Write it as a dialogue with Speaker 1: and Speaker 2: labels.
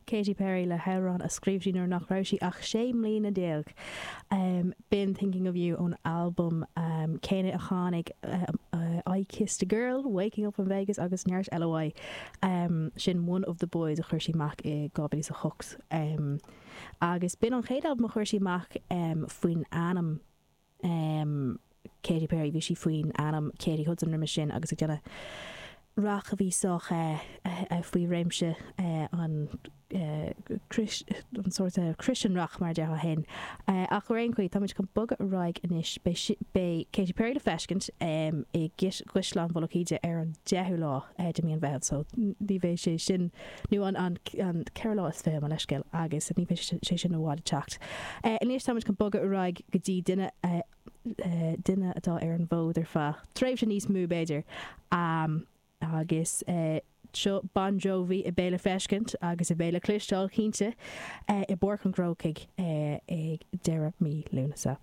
Speaker 1: Katy Perry le hamhrán a scríobh sí nuair nach raibh sí ach 16 mbliana. B'in Thinking of You ón albam céanna a tháinig I Kissed a Girl, Waking Up in Vegas agus neart eile uaidh. Sin One of the Boys a chuir sí amach i 2008. Agus b'in an chéad albam a chuir sí amach faoin ainm Katy Perry, bhí sí faoin ainm Katy Hudson roimis sin agus ag déanamh rac a bhí sách faoi réimse an an sórt Christian rock mar a déarfá féin. Ach ar aon chaoi, táimid chun bogadh ar aghaidh anois. Beidh Katy Perry le feiscint i gCaisleán Mhullach Íde ar an 10ú lá de mhí an Mheithimh so ní bheidh sé sin, nó an ceathrú lá is 20, mo leithscéal, agus ní bheidh sé sin i bhfad ag teacht. Anois táimid chun bogadh ar aghaidh go dtí duine, duine atá ar an bhfód ar feadh tréimhse níos mó b'fhéidir, agus seo Bon Jovi a bheidh le feiscint agus a bheidh le cloisteáil cinnte i bPáirc an Chrócaigh ag deireadh mí Lúnasa.